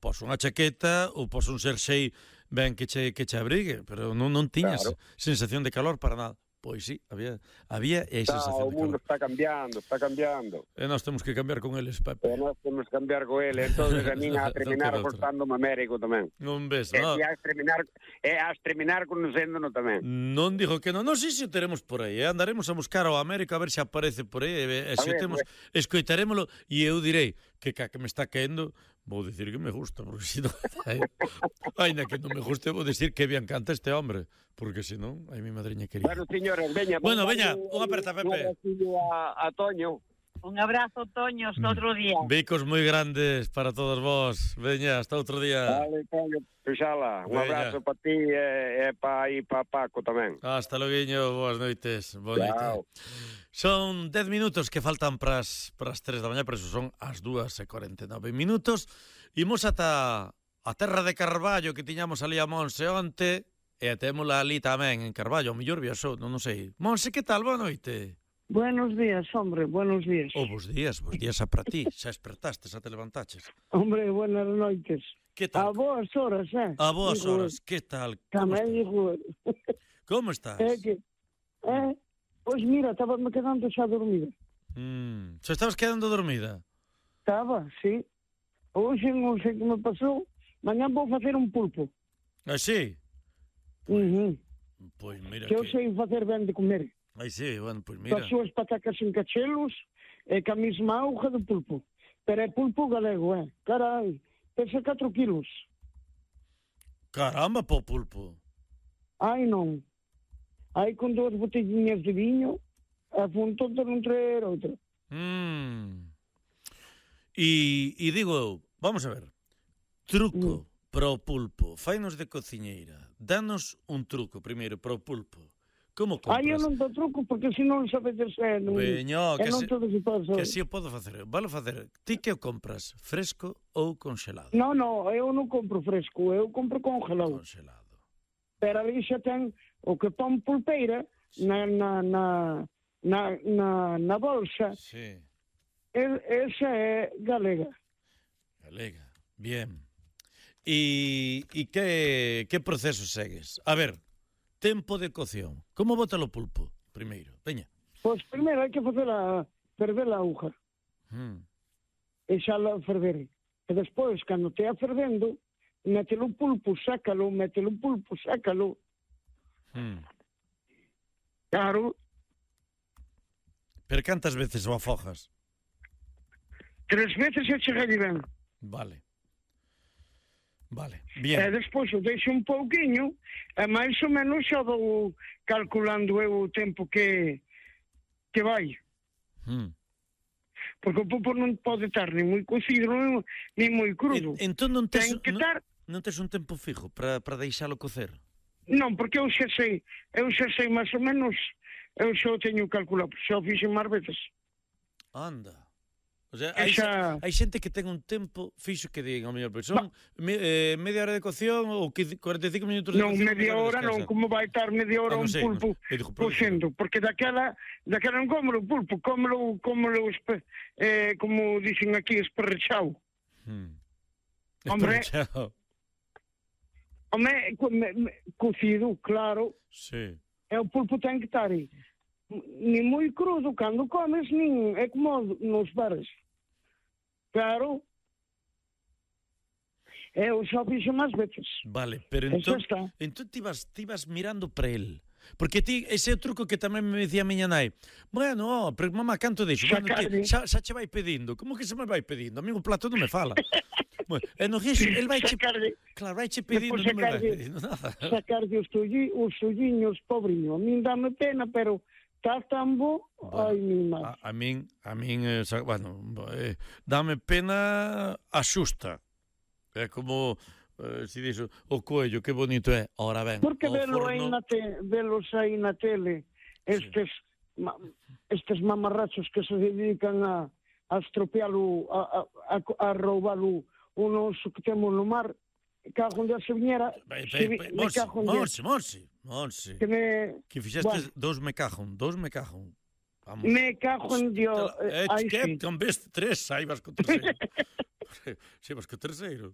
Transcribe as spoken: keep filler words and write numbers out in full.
pos unha chaqueta ou pos un xersei ben que che, que che abrigue, pero non, non tiñas Claro. sensación de calor para nada. Pois sí, había, había e Está, sensación o de mundo calor. está cambiando, está cambiando. E nós temos que cambiar con eles, Pepe. E nós temos que cambiar co ele, entonces a min a terminar Non queda outra. costándome Américo tamén. Non ves, E non? a terminar, e a terminar conocéndono tamén. Non digo que non, non sei se o teremos por aí, eh? Andaremos a buscar ao América a ver se aparece por aí, e, e se o ver, temos, escoitarémolo, e eu direi que ca que me está caendo, vou dicir que me gusta, porque se non, ainda que non me guste, vou dicir que bien canta este hombre, porque se non, ai mi madriña querida. Bueno, señores, veña. Bueno, vamos veña, darlle unha aperta, Pepe. Un abracillo a, a Toño. Un abrazo, Toño, hasta outro día. Bicos moi grandes para todos vos. Veña, hasta outro día. Vale, Toño, Peixala. Un Veña. abrazo para ti e, e para aí para Paco tamén. Hasta loguiño, boas noites. Boa noite. Chao. Son dez minutos que faltan para as tres da mañá, por eso son as dúas e cuarenta e nove minutos. Imos ata a terra de Carballo que tiñamos ali a Monse onte, e témola ali tamén en Carballo, o mellor viaxou, non, non sei. Monse, que tal? Boa noite. Buenos días, hombre, buenos días. Oh, bos días, bos días a para ti. Xa espertaste, xa te levantaches. Hombre, buenas noites. Que A tal? boas horas, eh? A boas Digo, horas, que tal? Como Tamén estás? digo, Como estás? é que, eh, pois mira, estaba me quedando xa dormida. Mm, xa estabas quedando dormida? Estaba, sí. Hoxe non sei que me pasou. Mañán vou facer un pulpo. Así? Uh -huh. Pois mira Que eu que... sei facer ben de comer. Ai, sí, bueno, pois Mira. mira. As súas patacas en cachelos e ca mesma auga de pulpo. Pero é pulpo galego, eh? Carai, pesa catro kilos. Caramba, po pulpo. Ai, non. Aí con dúas botellinhas de viño, a punto de non traer outra. Mm. E, e digo eu, vamos a ver, truco mm. para o pulpo, fainos de cociñeira, danos un truco primeiro para o pulpo. Como compras? Ai, eu non dou truco, porque se non sabedes ser, non, Veño, que, non se, todo se pode saber. que si o podo facer. Valo facer, ti que o compras, fresco ou congelado? Non, non, eu non compro fresco, eu compro congelado. Congelado. Pero ali xa ten o que pon pulpeira na, na, na, na, na, na bolsa. Sí. E, esa é galega. Galega, bien. E, e que, que proceso segues? A ver, tempo de cocción. Como bota o pulpo, primeiro? Veña. Pois primeiro hai que facer a ferver a auga. Mm. E xa la ferver. E despois, cando te a fervendo, mételo o pulpo, sácalo, mételo o pulpo, sácalo. Mm. Claro. Pero cantas veces o afogas? Tres veces e chegalle ben. Vale. Vale, E bien. despois o deixo un pouquiño, e máis ou menos xa vou calculando eu o tempo que que vai. Mm. Porque o pulpo non pode estar ni moi cocido, nin, ni moi crudo. En, entón non tes, Ten que non, estar... non tes un tempo fijo para para deixalo cocer? Non, porque eu xa sei, eu xa sei máis ou menos, eu xa o teño calculado, xa o fixen máis veces. Anda. O sea, E hai, xa- hai xente que ten un tempo fixo que digan, o mellor, pois son me, eh, media hora de cocción ou cuarenta e cinco minutos de Non, cocción. media hora non, como vai estar media hora Ah, non un sei, pulpo non- eu digo, por cocendo, porque daquela, daquela non cómelo o pulpo, cómelo, cómelo, espe, eh, como dicen aquí, esperrechao. Hmm. Hombre. Chao. Home, co- me- me- cocido, claro, Sí. e o pulpo ten que estar aí. Ni moi crudo cando comes, nin é como nos bares. Claro. Eu xa fixo máis veces. Vale, pero Eso entón, está. entón ti vas, ti vas mirando para el. Porque ti, ese é o truco que tamén me decía a miña nai. Bueno, oh, pero mamá, canto dixo? Bueno, Sacarlle. que, xa, xa che vai pedindo. Como que se me vai pedindo? A mí o plato non me fala. Bueno, e no guiso, el vai che... Sacarlle. Claro, vai che pedindo, Despois non me vai sacarlle- pedindo nada. Sacarlle os, tulli, os tulliños, pobriño. A min dame pena, pero está tan bo, Bueno, ai, mi má. A, a min, a min, eh, sa- bueno, eh, dame pena a xusta. É como, eh, si dixo, o coello, que bonito é. Ora ben, Porque o velo aí forno... na te, velos aí na tele, estes, ma, estes mamarrachos que se dedican a, a estropealo, a, a, a, a roubalo un oso que temos no mar, cago onde se viñera, Vai, se vai, vi- vai, me Monse, cago onde, Monse, Monse, Monse. que me, Que fixeste Bueno. dous me cajon, dous me cajon. Vamos. me cago en Dios, Eh, aí que sí. con vez tres, aí vas co terceiro. Si vas co terceiro.